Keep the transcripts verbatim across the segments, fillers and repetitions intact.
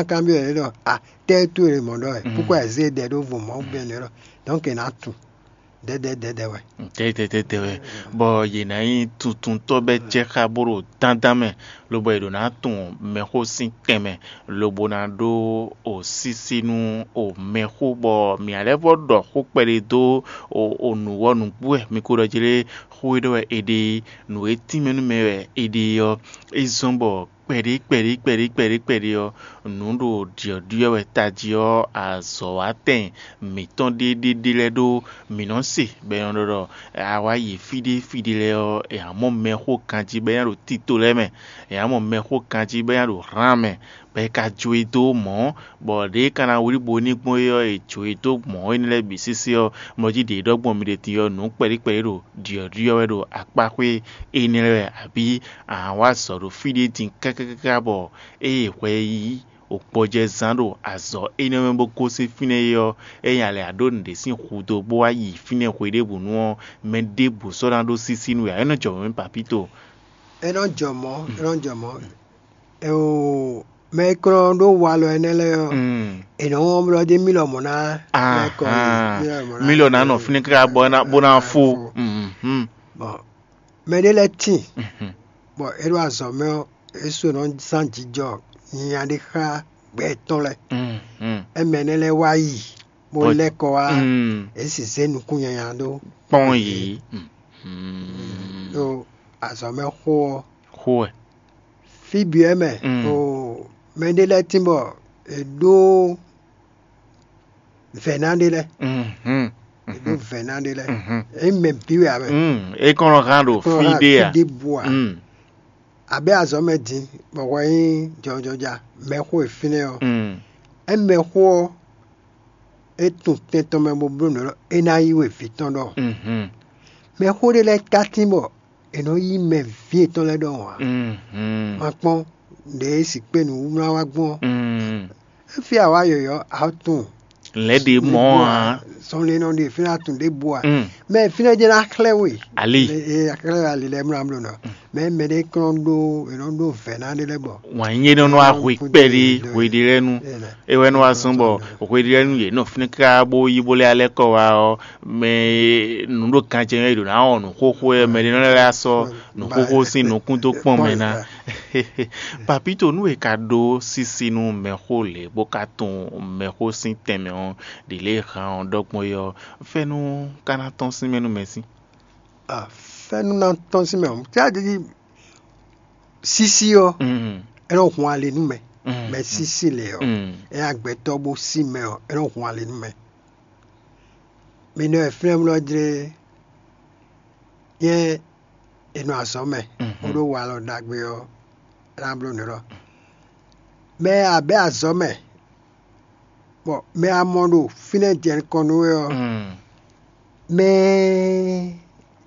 kanbyɔ́ yě ɖɔ, a tɛ́ towe mɔ̌ ɖɔ wɛ, púkɔ ɛ zé ɖɛ ɖó vo mɔ̌ bɛn ɖɔ, donc è nǎ tunwun dɛdɛ dɛdɛ wɛ. Dɛdɛ dɛdɛ wɛ. Bɔ yě ná nyí tuntuntɔ́ bɛ́ jɛ xá bó ɖo dandan mɛ, lobo è ɖǒ ná tunwun mɛxó sín tɛnmɛ, lobo ná ɖó osísí nú o mɛxó, bɔ mǐ ná lɛ́ vɔ ɖɔ xó kpɛɖé dó o nǔwɔ nǔgbó wɛ mi ko ɖɔ jí lé, xó e ɖɔ wɛ è ɖe, nǔ e tínmɛ nú mɛ wɛ è ɖe ɔ́, é zɔ́n bɔ kpɛɖé kpɛɖé kpɛɖé kpɛɖé kpɛɖé ɔ́, nǔ ɖo ɖyɔ̌ɖyɔ́ wɛ tají ɔ́, azɔ̌watɛn mǐtɔn ɖéɖéɖé lɛ́ɛ ɖó mǐ nɔ́ se bɔ è nɔ ɖɔ ɖɔ a wá yi fí ɖé fí ɖé lɛ́ɛ ɔ́, è nǎ mɔ mɛxó ganjí bɔ é ná ɖo tito lɛ́ɛ mɛ, è nǎ mɔ mɛxó ganjí bɔ é ná ɖo hlán mɛ, bɔ è ka jó e dó mɔ̌, bɔ ɖěe ka ná wlí bo ní gbɔn é ɔ́, è jó e dó mɔ̌ énɛ́ lɛ́ɛ bǐ sésé ɔ́, mɔ jí ɖě ɖɔ gbɔn mi ɖe din ɔ́, nǔ kpɛɖé kpɛɖé ɖo ɖyɔ̌ɖyɔ́ wɛ ɖo akpáxwé énɛ́ lɛ́ɛ wɛ, abǐ a nǎ wá azɔ̌ ɖo fí ɖé din káká bɔ ée hwɛ yí o gbɔjɛzán ɖo azɔ̌ énɛ́ mɛ bó gosín fínɛ́ é ɔ́, ényí a lɛ a ɖó nǔɖé sín hudó bó wá yi fínɛ́ hweɖěbǔnu ɔ́, mɛ ɖěbǔ sɔ́ ná ɖó sísí nú we ǎ. É nɔ jɔ mɔ̌ mɛ papíto. É nɔ jɔ mɔ̌, é nɔ jɔ mɔ̌. Eo, mɛ e kplɔ́n ɖó walɔ énɛ́ lɛ́ɛ ɔ́, è nɔ wɔn blɔ́ dé mí lɔmɔ̌ ná lɛ́ kɔ yi, mí lɔmɔ̌ ná mí lɔ ná nɔ fínɛ́ káká bɔ é ná bó ná fó. Mhm. Bɔn mɛ ɖé lɛ́ɛ tíin, bɔ é ɖo azɔ̌ mɛ ɔ́, é su nɔ zán jijɔ nyanya ɖé xá gbɛ tɔn lɛ́ɛ. Mhm. Ɛmɛ nɛ́ lɛ́ɛ wá yi, bó Bɔ- lɛ́ kɔ wá, Mm. é sì zé nukún nyanya ɖó Kpɔn yìí. Mhm. Ɖo azɔ̌ mɛ xó ɔ́, Xó ɛ. Fí bǐ wɛ mɛ, Mm. o mɛ ɖé lɛ́ɛ tín bɔ è ɖó vɛ̌ná ɖé lɛ́ɛ, Mhm. È ɖó vɛ̌ná ɖé lɛ́ɛ. Mhm. É nyí mɛ bǐ wɛ ǎ mɛ. Mm. É kɔn nɔ hán ɖo Kplɔ́n fí há ɖé fí a? Ɖěbǔ ǎ. Mm. Abě azɔ̌ mɛ din, bɔ hwɛ nyí jɔjɔja, mɛxó e fínɛ́ ɔ́. Mm. É mɛxó ɔ́, é tunwun tɛn tɔn mɛ bó bló nǔ élɔ́, é ná yí we vǐ tɔn ɖɔ. Mhm. Mɛxó ɖé lɛ́ɛ ka tín bɔ è nɔ yí mɛ vǐ yětɔn lɛ́ɛ ɖɔhun ǎ. Mhm. Ma kpɔ́n ɖě e sǐ kpé nǔwúmlá wá gbɔn ɔ́. Mhm. Fí a wǎ yɔ̌yɔ́ a tunwun. Lɛ̌ ɖě mɔ̌ ǎ. Sɔnlin nɔ ɖe fínɛ́ a tunwun ɖěbǔ a. Mm. Mɛ fínɛ́ jɛ́n ná xlɛ́ we. Ali. Ee, a xlɛ́ we ali lɛ́ɛ mlɔ́ mlɔ́ nɔ. Mɛ mɛ ɖé kɔn ɖó è nɔ ɖó vɛ̌ ná ɖé lɛ́ɛ bɔ. Wǎn nyí é nɔ nɔ wá hwe kpɛɖé hweɖélɛ́nu. É wɛ nɔ wá zɔ́n bɔ hweɖélɛ́nu yě nɔ fínɛ́ káká bó yí bó lɛ́ alɛ́ kɔ wá ɔ́, mɛ nǔ ɖo ganjɛ mɛ ɖo ná wɔn nǔ xóxó wɛ mɛ ɖé nɔ lɛ́ wá sɔ́ nǔ xóxó sín nukún dó kpɔ́n mɛ ná. Papíto nú è ka ɖó sísí nú mɛxó lě bó ka tunwun mɛxó sín tɛnmɛ ɔ́, ɖě lě e han ɔ́ ɖɔ gbɔn é ɔ́, fɛ́nú ka ná tɔ́n sín mɛ nú mɛ sín. Ah, fɛ́nú ná tɔ́n sín mɛ ɔ́, tí a ɖi sísí ɔ́, Mm, é nɔ hun ali nú mɛ. Mm, Mɛ sísí lě ɔ́, mm. É nyi agbɛtɔ́ bó sí mɛ ɔ́, é nɔ hun ali nú mɛ. Mi nɔ e flɛ́mlɔ́ jlé nyɛ è nɔ azɔ̌ mɛ, Mhm. bó ɖó walɔ ɖagbe ɔ́, é ná bló nǔ ɖɔ. Mɛ e a bɛ́ azɔ̌ mɛ, bɔ mɛ a mɔ ɖo fínɛ́ jɛ nukɔn nú we ɔ́, Mm. Mɛ e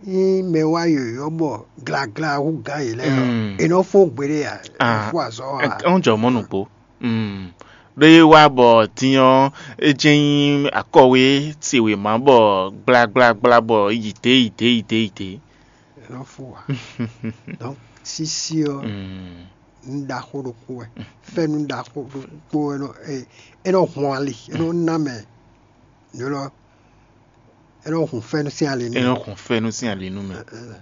nyí mɛ wá yɔ̌yɔ́ bɔ glagla hú gǎn yě lɛ́ɛ ɔ́, Mm. È nɔ fó gbeɖé ǎ, è nɔ Ah, fó azɔ̌ ǎ. Ɔn jɔ mɔ nǔgbó. Mm. Ɖé wá bɔ din ɔ́, é jɛ́n nyí akɔwé se wěma bɔ gblágblágbla bɔ yi dě yi dě yi dě yi dě. È nɔ fó ǎ. Donc sísí ɔ́, Mm. Nǔ ɖaxó ɖokpó wɛ. Fɛ́nú ɖaxó ɖokpó wɛ nɔ, é, é nɔ hɔn ali, é nɔ ná mɛ. Nǔ lɔ, é nɔ hun fɛ́nú sín ali nú É mɛ. Nɔ hun fɛ́nú sín ali nú mɛ. Ɛ, ɛ.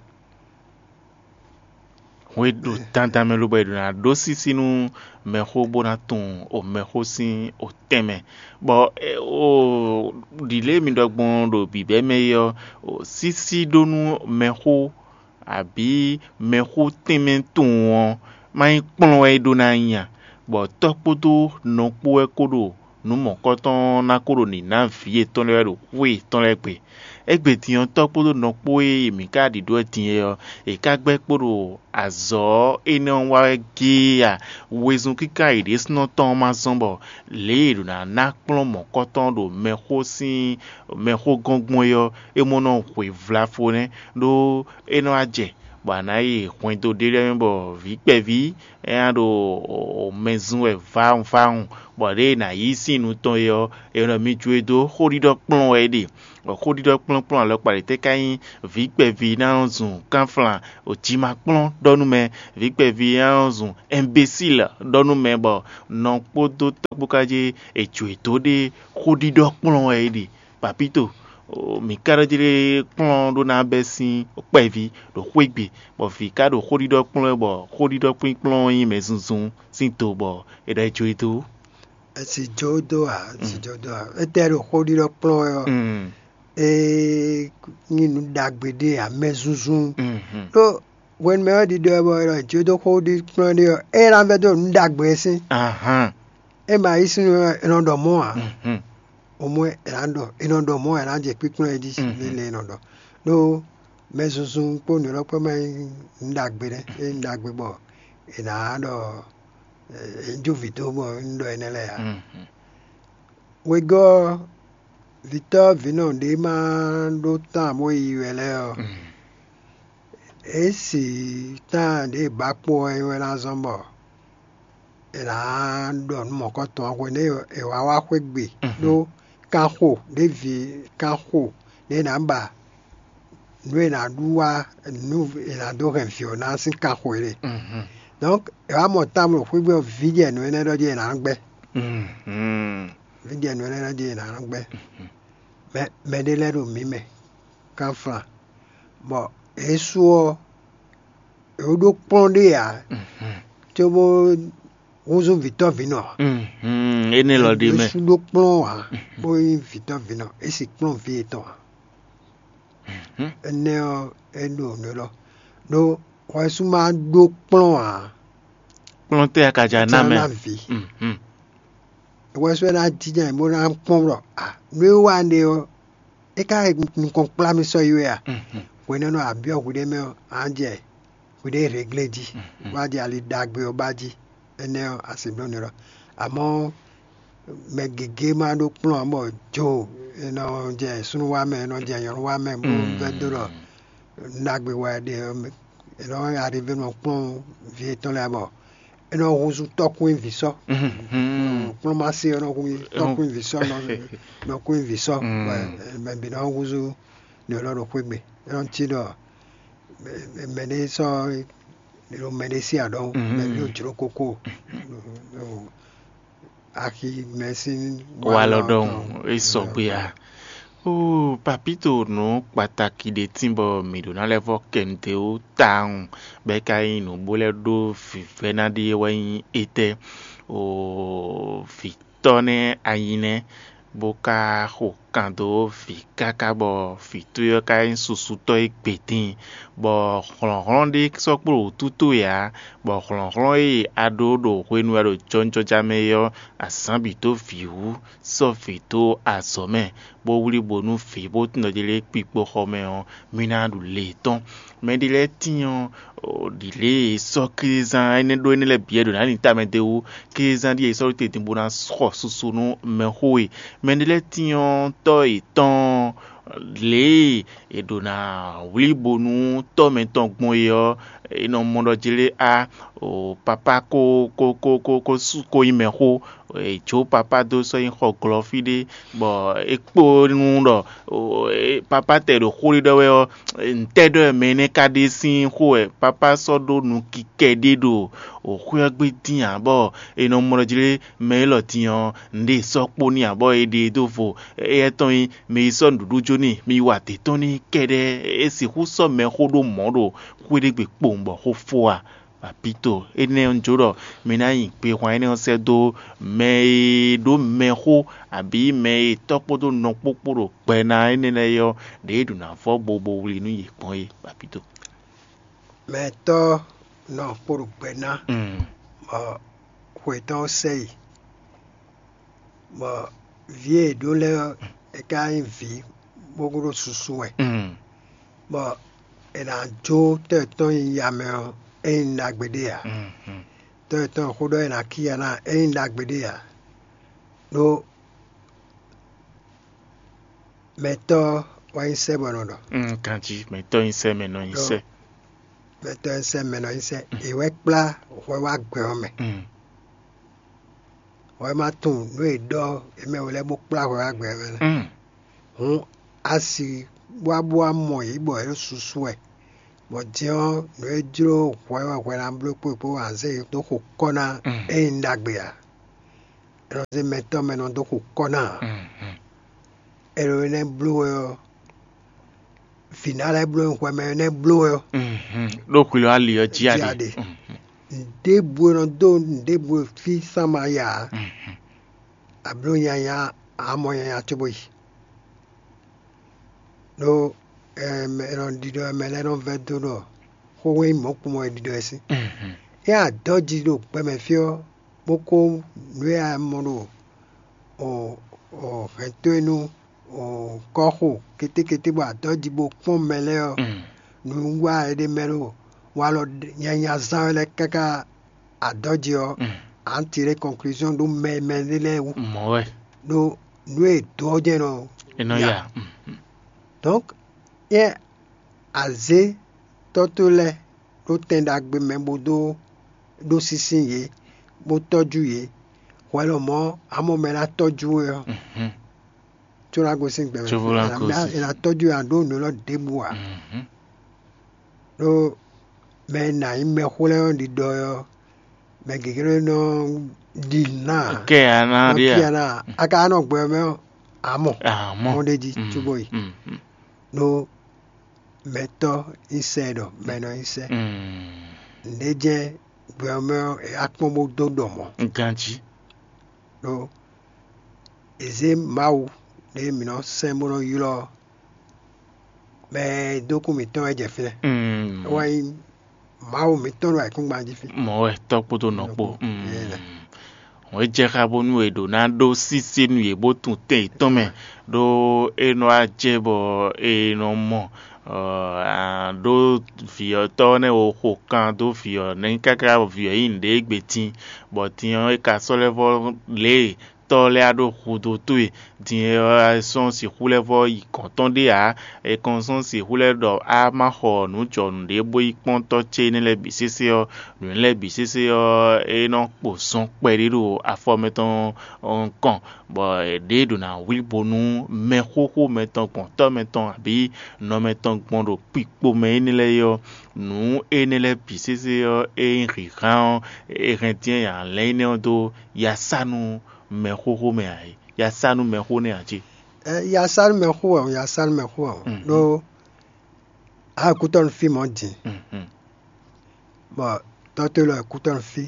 Hwe ɖo dandan mɛ lobɔ è ɖo ná ɖó sísí nú mɛxó bó ná tunwun o mɛxó sín o tɛnmɛ. Bɔ ɛ, o ɖi lě mi ɖɔ gbɔn ɖo bǐbɛ́ mɛ é ɔ́, o sísí ɖó nú mɛxó abǐ mɛxó tɛnmɛ tunwun ɔ́, má nyí kplɔ́n wɛ é ɖó ná nyí a? Bɔ tɔ́ kpódó nɔ kpó wɛ kó ɖo nǔ mɔ̌kɔtɔn ná kó ɖo nǐ ná vǐ yětɔn lɛ́ɛ wɛ ɖo xwé yětɔn lɛ́ɛ gbe. Égbé din ɔ́, tɔ́ kpódó nɔ kpó e mǐ ka ɖi ɖó wɛ din é ɔ́, è ka gbɛ́ kpo ɖo azɔ̌ énɛ́ ɔ́ wa wɛ géé a? Wezun kíká yě ɖésúnɔ tɔn ɔ́ ma zɔ́n bɔ lě e è ɖǒ ná ná kplɔ́n mɔ̌kɔtɔn ɖo mɛxó sín mɛxó gɔ́n gbɔn é ɔ́, é mɔ nɔ hwe vlafo nɛ́, ɖó é nɔ wá jɛ bɔ a nǎ yi hwɛndo ɖé lɛ́ɛ mɛ bɔ vǐ kpɛví é ná ɖo mɛ zun wɛ vawun vawun, bɔ ɖěe è nǎ yí sín nu tɔn é ɔ́, è nɔ mi jó e dó xóɖiɖɔ kplɔ́n wɛ é ɖe. Bɔ xóɖiɖɔ kplɔ́nkplɔ́n alɔkpa ɖě tɛ́ ka nyí vǐ kpɛví ná nɔ zun kánflan, òjimakplɔ́n ɖɔ nú mɛ, vǐ kpɛví ná nɔ zun ɛmbesíl ɖɔ nú mɛ, bɔ nɔ kpódó tɔ́ kpó ka jɛ è jǒ e dó ɖe xóɖiɖɔ kplɔ́n wɛ é ɖe. Papito, mǐ ka ɖɔ jlé kplɔ́n ɖó ná bɛ́ sín kpɛví ɖo xwé gbe, bɔ vǐ ka ɖo xóɖiɖɔ kplɔ́n wɛ, bɔ xóɖiɖɔ kplɔ́n nyí mɛ zunzun sín do, bɔ è ɖɔ è jó e dó. È sì jó dó ǎ, è sì jó dó ǎ. Étɛ́ ɖo xóɖiɖɔ kplɔ́n wɛ ɔ́, é nyí nǔ ɖagbe ɖé ǎ, mɛ zunzun. Ɖó hwenu mɛ ɔ́ ɖiɖɔ ɛ bɔ è ɖɔ è jó dó xóɖiɖɔ kplɔ́n ɖé ɔ́, é ná vɛ́ dó nǔ ɖagbe ɛ sín. É ma yí sín nú è nɔ ɖɔ mɔ̌ ǎ. Au moins è nǎ ɖɔ è nɔ ɖɔ mɔ̌ ǎ, è nǎ jɛ kpíkplɔ́n ɛ jí. Lílɛ è nɔ ɖɔ ɖó mɛ zunzun kpó nǔ élɔ́ kpó ma nyí nǔ ɖagbe nɛ́, é nyí nǔ ɖagbe bɔ è nǎ ɖɔ è nyí jó vǐ dó bɔ un ɖɔ énɛ́ lɛ́ɛ ǎ. Wegɔ́ ɔ́, vǐtɔ́ vǐnɔ ɖě ma ɖó tán bó yi wɛ lɛ́ɛ ɔ́, é si tán ɖě ba kpó ɔ́ é wɛ ná zɔ́n bɔ è nǎ ɖɔ nǔ mɔ̌kɔtɔn ɔ́ hwenu e è wǎ wá xwé gbe ɖó kanxo ɖěvi kanxo ɖě è nǎ ba nǔ e è nǎ ɖu wá nǔ è nǎ dó hɛn vǐ ɔ́ ná sín kanxo é ɖe. Donc è wǎ mɔ támlo xwígbe ɔ́, vǐ jɛ nǔ énɛ́ ɖɔ jí è nǎ gbɛ́. Vǐ jɛ nǔ énɛ́ ɖɔ jí è nǎ gbɛ́. Mɛ mɛɖé lɛ́ɛ ɖo mǐ mɛ kánflán, bɔ yě su ɔ́, yě ɖó kplɔ́n ɖé ǎ, cóbó húzú vǐtɔ́vǐnɔ ǎ. Énɛ́ lɔ ɖe mɛ. Yě sú ɖó kplɔ́n ǎ, bó nyí vǐtɔ́vǐnɔ, é sì kplɔ́n vǐ yětɔn ǎ. Énɛ́ ɔ́, é ɖo nǔ élɔ́ ɖó xwɛsú ma ɖó kplɔ́n ǎ. Kplɔ́n tɛ́ a ka ja ná mɛ? Ná vǐ. Xwɛsú ɛ ná jínjɔ́n bó ná kpɔ́n ɖɔ a nǔ e wa ɖe ɔ́, é ka nukɔn kplá mì sɔ́ yi wɛ a? Hwenɛ́nu a byɔ́ hwiɖée mɛ ɔ́, a nǎ jɛ hwiɖée réglé jí, bó ná jɛ ali ɖagbe ɔ́ ba jí. Énɛ́ ɔ́, a sì bló nǔ ɖɔ. Amɔ̌, mɛ gěgé ma ɖó kplɔ́n ǎ bɔ jo è nɔ jɛ súnnu wa mɛ, è nɔ jɛ nyɔ̌nu wa mɛ, bó vɛ́ dó ɖɔ nǔ ɖagbe wa è ɖe ɔ́, è nɔ arrivé nɔ kplɔ́n vǐ yětɔn lɛ́ɛ bɔ é nɔ húzú tɔ́kún nyi vǐ sɔ́. Kplɔ́nmasi ɔ́ nɔ kún nyi tɔ́kún nyi vǐ sɔ́, nɔ kún nyi vǐ sɔ́, bɔ mɛ bǐ nɔ húzú nǔ élɔ́ ɖo xwé gbe. É nɔ cí ɖɔ mɛɖé sɔ́ ɖo mɛɖé sí aɖɔ́, mɛɖé ɖo jlǒ kókó, axi mɛ sín walɔ ɖɔhun é sɔgbe ǎ. Ó, Papito, nǔ kpataki ɖé tín bɔ mǐ ɖó ná lɛ́ vɔ́ kɛ nǔ dó tawun, bɔ é ka nyí nǔ bó lɛ́ ɖó vǐvɛ́ná ɖé wɛ nyí étɛ́? Ó, vǐtɔ́ nɛ́ a nyí nɛ́, bó ka xo kan dó vǐ káká bɔ vǐ towe ɔ́ ka nyí susútɔ́ e gbe dín, bɔ hlɔ̌nhlɔ́n ɖé sɔ́ kpló wǔtu towe ǎ, bɔ hlɔ̌nhlɔ́n e a ɖó ɖo hwenu e a ɖo jɔwunjɔja mɛ é ɔ́, azǎn bǐ dó vǐ wú, sɔ́ vǐ dó azɔ̌ mɛ, bó wlí bónú vǐ bó tunwun ɖɔ jlé kpikpo xɔ mɛ ɔ́, mì ná ɖu lě tɔn. Mɛɖé lɛ́ɛ tíin ɔ́, ɖi lě e è sɔ́ kézán énɛ́ ɖó énɛ́ lɛ́ɛ bǐ wɛ ɖo nǎ nyi tamɛ d'é wú. Kézán ɖíe è sɔ́ ɖó te din bó ná xɔ susu nú mɛxó e. Mɛɖé lɛ́ɛ tíin ɔ́, tɔ́ yětɔn lě e è ɖǒ ná wlí bónú tɔ́ mɛtɔn gbɔn é ɔ́, è nɔ mɔ ɖɔ jlé á, o papá kó kó kó kó kó sú kó nyí mɛxó. È jó papá dó sɔ́ nyi xɔ glɔ́ fí ɖé, bɔ é kpó nú ɖɔ papá tɛ ɖo xó ɖé ɖɔ wɛ ɔ́, ntɛ́ ɖɔ mɛ énɛ́ ka ɖe sín xó wɛ papá sɔ́ ɖó nukikɛ ɖé ɖo xwé ɔ́ gbe dín ǎ, bɔ è nɔ mlɔ́ jlé mɛ élɔ́ din ɔ́, nǔɖé sɔ́ kpó n'i ǎ, bɔ è ɖe e dó vo. Éyɛ́ tɔn nyí mɛ e sɔ́ nǔɖuɖu jó n'i, mi wa dě tɔn n'i kɛ́ɖɛ́. È sixú sɔ́ mɛxó ɖó mɔ̌ ɖo xwé ɖé gbe kpowun bɔ xó fó a? Papito, énɛ́ ɔ́, un jló ɖɔ mi ná nyi gbehwan énɛ́ ɔ́ sɛ́ dó mɛ e ɖó mɛxó, abǐ mɛ e tɔ́ kpódó nɔ kpó kpó ɖo gbɛ ná énɛ́ lɛ́ɛ é ɔ́, ɖěe ɖǒ ná vɔ́ bo bo wlí nú yě gbɔn é. Papito. Mɛ tɔ́ nɔ kpó ɖo gbɛ ná, bɔ xwe tɔn sɛ yi, bɔ vǐ e è ɖǒ lɛ́ɛ ɔ́, é ka nyí vǐ bó ɖo susu wɛ, bɔ è nǎ jó tɔ́ yětɔn nyi ya mɛ ɔ́, é nyí nǔ ɖagbe ɖé ǎ. Tɔ́ yětɔn xó ɖɔ è nǎ cí ya ná, é nyí nǔ ɖagbe ɖé ǎ. Ɖó mɛtɔ́ wɛ nyí sɛ́ bɔ è nɔ ɖɔ. Ganjí mɛtɔ́ nyí sɛ́, mɛ nɔ nyí sɛ́. Gbɛtɔ́ e sɛ́ mɛ nɔ nyi sɛ́, è wɛ kplá hwɛ wá gbɛ ɔ́ mɛ. Hwɛ ma tunwun nǔ e ɖɔ è mɛ wɛ lɛ́ɛ bó kplá hwɛ wá gbɛ ɔ́ mɛ lɛ́ɛ. Hǔn a si wá bó wá mɔ yě bɔ yě ɖo susu wɛ, bɔ din ɔ́, nǔ e jló hwɛ wɛ hwɛ ná bló kpó kpó wǎn zé yě dó xo kɔ́ ná ényí un ɖagbe ǎ. È nɔ zé mɛtɔ́ mɛ nɔ dó xo kɔ́ ná ǎ. È nɔ énɛ́ bló wɛ ɔ́, vǐ ná lɛ́ɛ bló hwɛ mɛ énɛ́ bló wɛ ɔ́, ɖó xwilɔ ali ɔ́ jí a ɖe. Nǔɖébu e nɔ dó nǔɖébu e fí sán ma ya ǎ. A bló nyanya, a mɔ nyanya cóbó yi. Ɖó è nɔ ɖiɖɔ mɛ lɛ́ɛ nɔ vɛ́ dó ɖɔ xó e nyí mɔ̌kpɔ́mɔ wɛ ɖiɖɔ ɛ sín. Ényí a dɔ́ ji ɖo gbɛ mɛ fí ɔ́, bó kó nǔ e a mɔ ɖo hɛ̌ntoénu kɔ́xo kétékété bɔ a dɔ́ ji bó kpɔ́n mɛ lɛ́ɛ ɔ́, nǔwiwa e ɖ'é mɛ ɖo walɔ nyanya zán wɛ lɛ́ɛ káká a dɔ́ ji ɔ́, a nǎ tiré kɔnkluzɔ́n ɖó mɛ e mɛ ɖé lɛ́ɛ wú. Mɔ̌ wɛ. Ɖó nǔ e è dǒ ɔ́ jɛ́n nɔ è nɔ ya. Donc, yɛ a zě tɔ́ towe lɛ́ɛ ɖó tɛn ɖagbe mɛ bó dó ɖó sísí yě, bó tɔ́jú yě. Hwɛ lɔmɔ̌ a mɔ mɛ ná tɔ́jú we ɔ́, có ná gosín gbɛ mɛ. È nǎ tɔ́jú we a ɖǒ nǔ élɔ́ ɖěbǔ ǎ. Ɖó mɛ e nǎ nyí mɛxó lɛ́ɛ ɔ́ ɖiɖɔ ɔ́, mɛ gěgé nɔ ɖi nǔ ná ǎ. Kɛ a ná ɖe Kí a? a ná a ka nɔ gbɛ mɛ ɔ́, a mɔ Àmọ́. mɔ ɖé jí cóbó yi. Mm, mm, Ɖó mɛtɔ́ nyí sɛ ɖɔ mɛ nɔ nyí sɛ. mm. Nǔɖé jɛ́n gbɛ mɛ ɔ́, a kpɔ́n bó dó ɖɔ mɔ̌. Ganjí. Ɖó è zě Mawu ɖě mǐ nɔ sɛn bó nɔ ylɔ́ ɔ́, mɛ e dó kú mǐtɔn wɛ jɛ fínɛ́. Mm. É wɛ nyí Mawu mǐtɔn ɖo ayǐkúngban jí fí. Mɔ̌ wɛ tɔ́ kpódó nɔ kpó. Mm. Yé lɛ. Wọ́n jɛ xá bónú è ɖǒ ná ɖó sísí nú yě bó tunwun tɛn yětɔn mɛ, ɖó é nɔ wá jɛ bɔ è nɔ mɔ ɔ, a ɖó vǐ ɔ́ tɔ́ nɛ́ wo xo kan dó vǐ ɔ́ nɛ́ káká vǐ ɔ́ nyí nǔɖé gbe tín, bɔ din ɔ́ é ka sɔ́ lɛ́ vɔ́ lě e tɔ́ lɛ́ɛ á ɖo hudó towe. Din ɔ́, a sɔ́ sixú lɛ́ vɔ́ yi gɔ̌n tɔn ɖé ǎ. È kɔn sɔ́ sixú lɛ́ ɖɔ á má xɔ nǔ jɔ nǔɖé bó yi kpɔ́n tɔ́ ce énɛ́ lɛ́ɛ bǐ sésé ɔ́, nǔ énɛ́ lɛ́ɛ bǐ sésé ɔ́, é nɔ kpo zɔn kpɛɖé ɖo afɔ mɛtɔn nukɔn, bɔ ɖěe ɖo ná wlí bo nú mɛxóxó mɛtɔn gbɔn tɔ́ mɛtɔn abǐ nɔ mɛtɔn gbɔn ɖo kpikpo mɛ énɛ́ lɛ́ɛ é ɔ́, nǔ énɛ́ lɛ́ɛ bǐ sésé ɔ́, é nyí hǐnhán ɔ́, é hɛn dín nya lɛ́ɛ énɛ́ ɔ́ dó yá sá nú mɛxóxó mɛ ǎ é. Yá sá nú mɛxó nɛ́ ǎ cé? Ɛ, ya sá nú mɛ xú wɛ o, ya sá nú mɛ xú wɛ o. Mhm. Ɖó a kútɔ́ nú fí mɔ̌ din, Mhm. bɔ tɔ́ towe lɔ e kútɔ́ nú fí.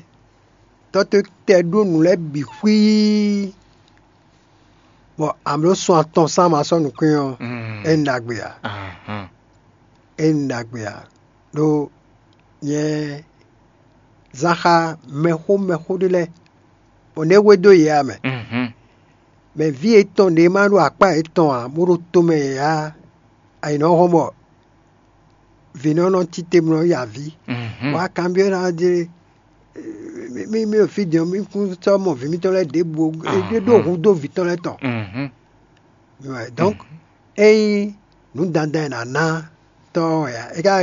Tɔ́ towe tɛ ɖó nǔ lɛ́ɛ bǐ xwíí, bɔ amló sun atɔn sán ma sɔ́ nukún ɔ́, Mm. é nyí ɖagbe ǎ. Ahan. É nyí ɖagbe ǎ. Ɖó nyɛ zán xá mɛxó mɛxó ɖé lɛ́ɛ, bɔ nɛ́ hwedó yě ǎ mɛ. Mhm. Mɛ vǐ yětɔn ɖě ma ɖo akpá yětɔn ǎ, bó ɖo tomɛ yě ǎ, ayǐnɔ́hɔn bɔ vǐnɔ́nɔ títewunɔ ɔ́ ya vǐ. Mhm. Wá kanbyɔ́ ná jlé mí mí ɖo fí din ɔ́, mí kún sɔ́ mɔ vǐ mítɔn lɛ́ɛ ɖěbǔ ó, é ɖó hudó vǐ tɔn lɛ́ɛ tɔn. Mhm. Ouais, donc ényí nǔ dandan e nǎ ná tɔ́ ɔ́ wɛ ǎ, é ka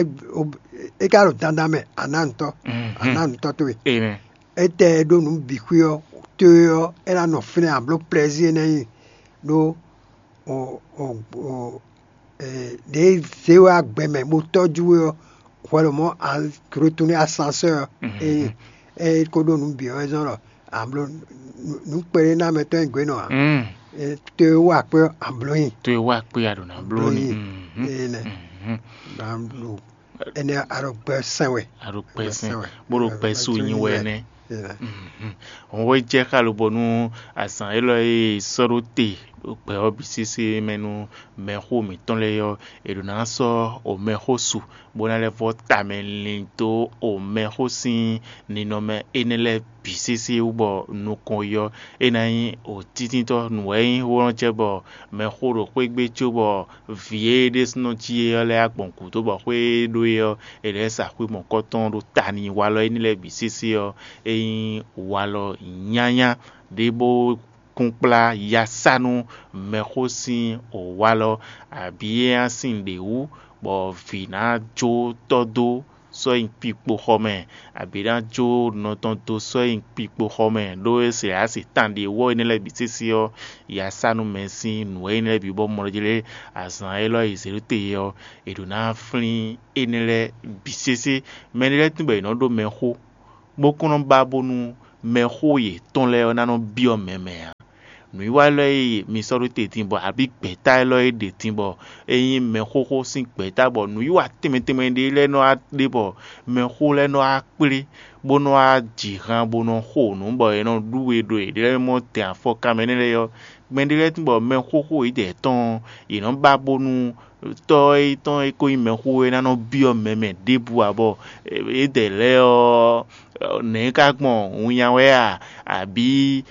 é ka ɖo dandan mɛ, a nǎ nǔtɔ́, a nǎ nǔtɔ́ towe. Amen. Étɛ́ e ɖó nǔ bǐ xwí ɔ́, towe ɔ́, é ná nɔ fínɛ́ ǎ, bló plɛ́zí énɛ́ nyi ɖó o o o e, ɖě zé wá gbɛ mɛ bó tɔ́jú we ɔ́, hwɛ lɔmɔ̌ a retourné ascenseur ɔ́, e e ko ɖó nǔ bǐ ɔ́ wɛ zɔ́n ɖɔ a bló nǔ kpɛɖé ná mɛ tɔn nyi gbe nɔ ǎ. Mm. E, to e wú akpé ɔ́, a bló nyi. To e wá kpé a ɖo ná bló ni. Mhm. Ene Mhm. na ɖo ene a ɖo gbɛ sɛn wɛ. A ɖo kpɛ sɛn Sɛn wɛ. bó ɖo kpɛ sú nyi wɛ nɛ. Ene. Mhm. Òun wɛ jɛ xá lobɔ nú azǎn élɔ́ e sɔ́ ɖó te ɖo gbɛ ɔ́ bǐ sésé mɛ nú mɛxó mǐtɔn lɛ́ɛ ɔ́, è ɖǒ ná sɔ́ omɛxó su bó ná lɛ́ vɔ́ tamɛ lin dó omɛxó sín ninɔmɛ énɛ́ lɛ́ɛ bǐ sésé wú bɔ nukɔn yi ɔ́, é ná nyí òtítíntɔ́ nǔ wɛ é nyí xó nɔ jɛ bɔ mɛxó ɖo xwé gbe cóbɔ vǐ e ɖésúnɔ cí é ɔ́ lɛ́ɛ wá gbɔn gǔdo bɔ xwé e ɖó é ɔ́, è lɛ́ sa xwé mɔ̌kɔtɔn ɖó ta n'i. Walɔ énɛ́ lɛ́ɛ bǐ sésé ɔ́, é nyí walɔ nyanya ɖé bó kún kplá yasá nú mɛxó sín walɔ, abǐ é ná sín ɖě wú, bɔ vǐ ná jó tɔ́ dó sɔ́ nyi kpikpo xɔ mɛ, abǐ ná jó nɔ tɔn dó sɔ́ nyi kpikpo xɔ mɛ, ɖó é se á se tán ɖe wɔ́ énɛ́ lɛ́ɛ bǐ sésé ɔ́, ya sá nú mɛ sín nǔ wɛ énɛ́ lɛ́ɛ bǐ bɔ mɔ ɖɔ jlé azǎn élɔ́ e zě ɖó te ɔ́, è ɖǒ ná flín énɛ́ lɛ́ɛ bǐ sésé. Mɛ ɖé lɛ́ɛ tín bɔ è nɔ ɖó mɛxó, bó kún nɔ ba bónú mɛxó yětɔn lɛ́ɛ ɔ́ ná nɔ byɔ́ mɛ mɛ ǎ. Nǔwiwa élɔ́ e mi sɔ́ ɖó te din bɔ abǐ gbɛ̌ta élɔ́ e ɖe din bɔ é nyí mɛxóxó sín gbɛ̌ta bɔ nǔwiwa tɛnmɛ tɛnmɛ ɖé lɛ́ɛ nɔ wá ɖe bɔ mɛxó lɛ́ɛ nɔ wá kplé bó nɔ wá ji han bó nɔ xo nǔ bɔ è nɔ ɖú we ɖo yěɖée lɛ́ɛ mɛ mɔ tɛn afɔ kanmɛ nɛ́ lɛ́ɛ ɔ́, mɛ ɖé lɛ́ɛ tín bɔ mɛxóxó yědɛɛ tɔn ɔ́, yě nɔ ba bónú tɔ́ e tɔn e ko nyí mɛxó é ná nɔ byɔ́ mɛ mɛ ɖěbǔ ǎ bɔ yědɛɛ lɛ́ɛ ɔ́, nɛ̌ ka gbɔn winnya wɛ a, abǐ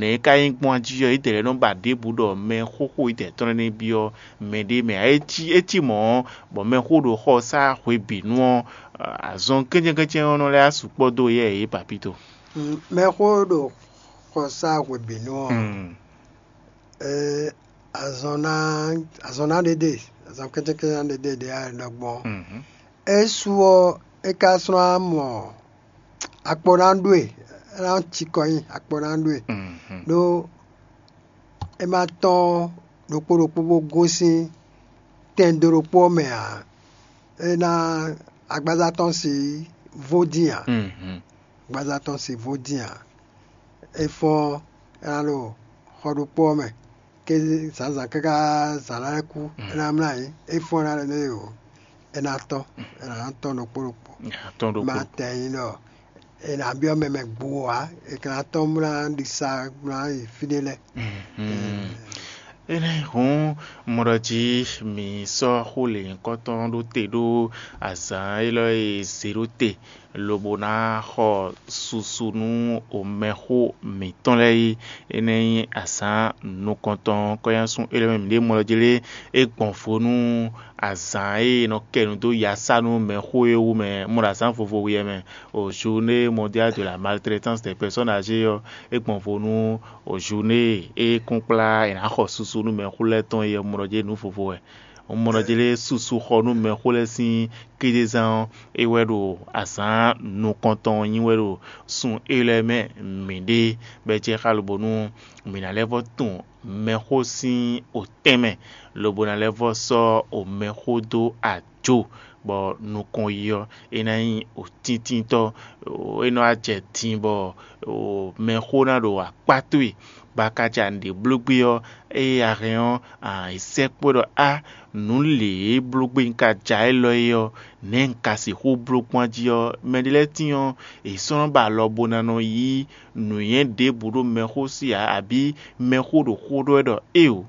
nɛ̌ ka nyí gbɔn ají ɔ́, yědɛɛ lɛ́ɛ nɔ ba ɖěbǔ ɖɔ mɛ xóxó yědɛɛ tɔn lɛ́ɛ ní byɔ́ mɛ ɖé mɛ ǎ. É cí é cí mɔ̌ ɔ́, bɔ mɛxó ɖo xɔ sá hwebǐnu ɔ́, azɔn kɛ́ncɛ́nkɛ́ncɛ́n ɔ́ nɔ lɛ́ wá sukpɔ́ dó yɛ yě papito. Mɛxó ɖo xɔ sá hwebǐnu ɔ́, azɔn ná azɔn ná ɖéɖé, azɔn kɛ́ncɛ́nkɛ́ncɛ́ ná ɖéɖé ɖě a nɔ gbɔn. É su ɔ́, é ka slɔ́n ná mɔ akpo ná ɖó e, é ná cikɔ nyi akpo ná ɖó e, ɖó é ma tɔ́n ɖokpó ɖokpó bó gosín tɛn dó ɖokpó ɔ́ mɛ ǎ. É ná agbaza tɔn si vodín ǎ, agbaza tɔn si vodín ǎ. É fɔ́n é ná ɖo xɔ ɖokpó ɔ́ mɛ, ké zǎnzǎn káká zǎn ná kú, é ná mlá ayǐ, é fɔ́n ná ɖɔ nú é o, é ná tɔ́n, é ná tɔ́n ɖokpó ɖokpó. Má tɛn nyí ɖɔ è nǎ byɔ́ mɛ mɛ gbo ǎ, è ka ná tɔ́n mlá ɖisa mlá yi fí ɖé lɛ́ɛ. Énɛ́ hǔn mɔ ɖɔ jí mǐ sɔ́ xó lě nyǐkɔ tɔn ɖó te ɖó azǎn élɔ́ e zě ɖó te, lobo ná xɔ susu nú omɛxó mǐtɔn lɛ́ɛ é. Énɛ́ nyí azǎn nukɔntɔn kɔ́nyásun élɔ́ mɛ mǐ ɖe mɔ ɖɔ jí lé é gbɔn vo nú azǎn e è nɔ kɛ nǔ dó yasá nú mɛxó é wú mɛ. Mɔ ɖo azǎn vovo wi ɛ mɛ, o journée mondiale de la maltraitance des personnes âgées ɔ́, é gbɔn vo nú o journée e kún kplá è nǎ xɔ susu nú mɛxó lɛ́ɛ tɔn é ɔ́, mɔ ɖɔ jí nǔ vovo wɛ. Mɔ ɖɔ jí lé susu xɔ nú mɛxó lɛ́ɛ sín kézezán ɔ́, é wɛ ɖo azǎn nukɔntɔn nyí wɛ ɖo sun élɔ́ mɛ mǐ ɖe, bɔ é jɛ xá lobo nú mǐ ná lɛ́ vɔ́ tunwun mɛxó sín otɛ́nmɛ, lobo ná lɛ́ vɔ́ sɔ́ omɛxó dó ajo, bɔ nukɔn yi ɔ́, é ná nyí òtíntítɔ́. É nɔ wá jɛ din bɔ mɛxó ná ɖo akpá towe, bɔ a ka ja nǔɖé bló gbé ɔ́, ée a hɛn ɔ́, a nǎ yi sɛkpɔ́ ɖɔ á, nǔ lě e bló gbé un ka ja élɔ́ é ɔ́, nɛ̌ un ka sixú bló gbɔn jí ɔ́, mɛ ɖé lɛ́ɛ tíin ɔ́, è sɔ́ nɔ ba alɔ bo ná nɔ yí nǔnywɛ́ ɖěbǔ ɖo mɛxó sí ǎ, abǐ mɛxó ɖo xó ɖɔ wɛ ɖɔ éeǒ.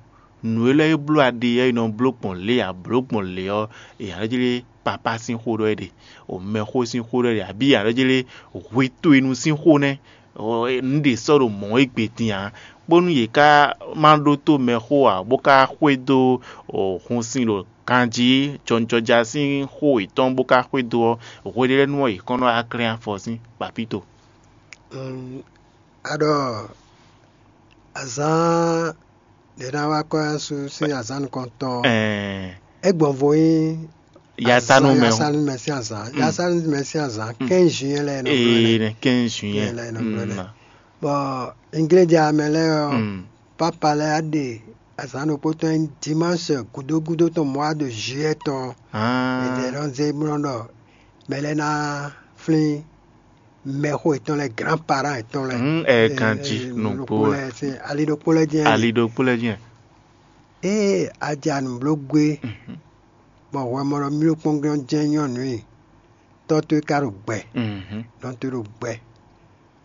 Nǔ élɔ́ e bló a ɖe ɔ́, è nɔ bló gbɔn lě ǎ, blǒ gbɔn lě ɔ́, è nǎ jlé papá sín xó ɖɔ wɛ ɖe, o mɛxó sín xó ɖɔ wɛ ɖe, abǐ è nǎ jlé hwetɔ́nu sín xó nɛ́. Nǔ ɖě sɔ́ ɖo mɔ̌ égbé din ǎ, bónú yě ká má ɖótó mɛxó ǎ, bó ká xwedó hun sin ɖo ganjí jɔnjɔja sín xó yětɔn bó ká xwedó ɔ́, hweɖélɛ́nu ɔ́ yě kɔn nɔ wá klɛ́n afɔ sín papíto. A ɖɔ azǎn ɖě ná wá kɔ́ nyi asú sín azǎn nukɔntɔn ɔ́, é gbɔn vo nyí Yasanu mɛ o. Yasanu mɛ sín azǎn. Yasanu mɛ sín azǎn. Quinze juin lɛ́ɛ nɔ bló nɛ. Ee, quinze juin. Lɛ́ɛ nɔ bló nɛ. Bɔ inglédi amɛ lɛ́ɛ ɔ́, papa lɛ́ɛ á ɖe azǎn ɖokpó tɔn nyí dimanche gúdógúdó tɔn mɔ̌ á ɖo juillet tɔn. Èdè nɔ zé mlɔ́ ɖɔ mɛ lɛ́ɛ ná flín mɛxó yětɔn lɛ́ɛ, grand parent yětɔn lɛ́ɛ. Ɛ ganjí nǔgbó wɛ. Lɛ́ɛ sín ali ɖokpó lɛ́ɛ dín ali ɖokpó lɛ́ɛ dín. Ée a ja nǔ bló gbé, bɔ hwɛ mɔ ɖɔ mì ɖo kpɔ́n gɔ́n jɛ́n nyɔ́nu e tɔ́ towe ka ɖo gbɛ, nɔ towe ɖo gbɛ,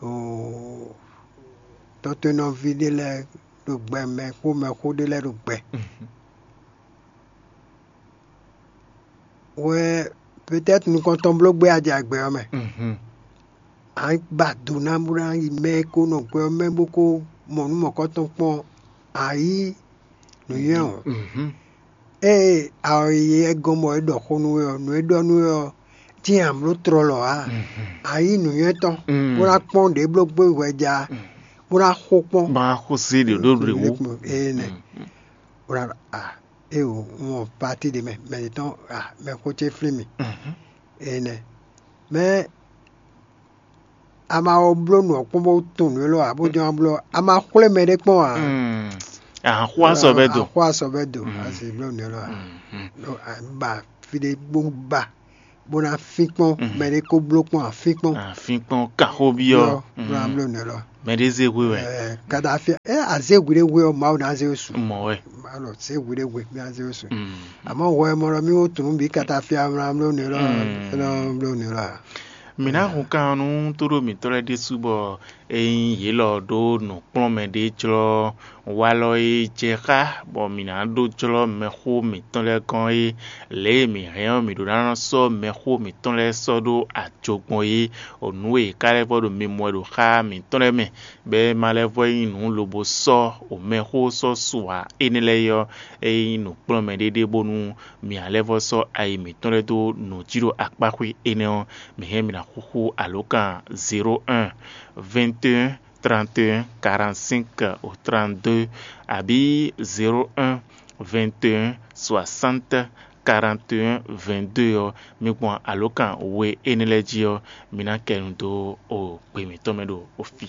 oo, tɔ́ towe nɔví ɖé lɛ́ɛ ɖo gbɛ, mɛ xó mɛ xó ɖé lɛ́ɛ ɖo gbɛ. Wɛ peut-être nukɔntɔn bló gbé a ja gbɛ ɔ́ mɛ. A ba do ná bó ná yi mɛ e ko nɔ gbɛ ɔ́ mɛ bó kó mɔ nǔ mɔ̌kɔtɔn kpɔ́n, a yí nǔnywɛ́ ɔ́. Ée a yi yɛ gɔ́n bɔ é ɖɔ xó nú we ɔ́, nǔ e ɖɔ nú we ɔ́, dín a bló tlɔlɔ ǎ. A yí nǔnywɛ́ tɔn bó ná kpɔ́n ɖě bló gbé hwɛja, bó ná xo kpɔ́n. Bó ná xo sí ɖě ɖó ɖě wú. Ee nɛ. Bó ná ɖɔ a, éeǒ, un mɔ pati ɖě mɛ, mɛ ɖě tɔn a, mɛ xó ce flín mì. Énɛ́. Mɛ a ma wɔ bló nǔ ɔ́ kpɔ́n bó tunwun nǔ élɔ́ ǎ, bó jɛ́n wá bló, a ma xwlé mɛɖé kpɔ́n ǎ. Ahɔn xó asɔ bɛ do. Xó asɔ bɛ do, a sì bló nǔ élɔ́ ǎ. Ɖó a ba fí ɖé bó ba bó ná fín kpɔ́n, mɛɖé kó bló kpɔ́n ǎ, fín kpɔ́n. Àfin kpɔn kàxó byɔ́. Bó ná bló nǔ élɔ́. Mɛ ɖé zé hwe wɛ. Kata fia ɛ azé hwi ɖé hwe ɔ, Mawu ná zé su. Mɔ wɛ. Alɔ zé hwi ɖé hwe mí azé su. Àmọ́ hwɛ mɔ ɖɔ mí wo tunú bí kata fia mlá mló nǔ élɔ́ élɔ́ mló nǔ élɔ́. Mǐ ná hun kan nú tóɖó mǐtɔn lɛ́ɛ ɖésú bɔ ényí yě lɔ ɖó nǔkplɔ́nmɛ ɖé jlɔ́ walɔ e jɛ xá, bɔ mǐ ná ɖó jlɔ́ mɛxó mǐtɔn lɛ́ɛ gɔ́n é. Lě e mǐ hɛn ɔ́, mǐ ɖó ná nɔ sɔ́ mɛxó mǐtɔn lɛ́ɛ sɔ́ ɖó ajogbɔn é. O nǔ e è ka lɛ́ vɔ ɖo mi mɔ wɛ ɖo xá mǐtɔn lɛ́ɛ mɛ, bɔ é ma lɛ́ vɔ nyí nǔ lobo sɔ́ o mɛxó sɔ́ su ǎ. Énɛ́ lɛ́ɛ é ɔ́, é nyí nǔkplɔ́nmɛ ɖé ɖé bónú mǐ ná lɛ́ vɔ sɔ́ ayi mǐtɔn lɛ́ɛ dó nǔ jí ɖo akpáxwé énɛ́ ɔ́, mǐ hɛn mǐ ná xúxú alǒkan zéro un, vingt et un, trente et un, quarante-cinq au trente-deux, abǐ zéro un, vingt et un, soixante, quarante et un, vingt-deux ɔ́, mi gbɔn alǒkan we énɛ́ lɛ́ɛ jí ɔ́, mi ná kɛ nu dó o gbe mǐtɔn mɛ ɖo o fí.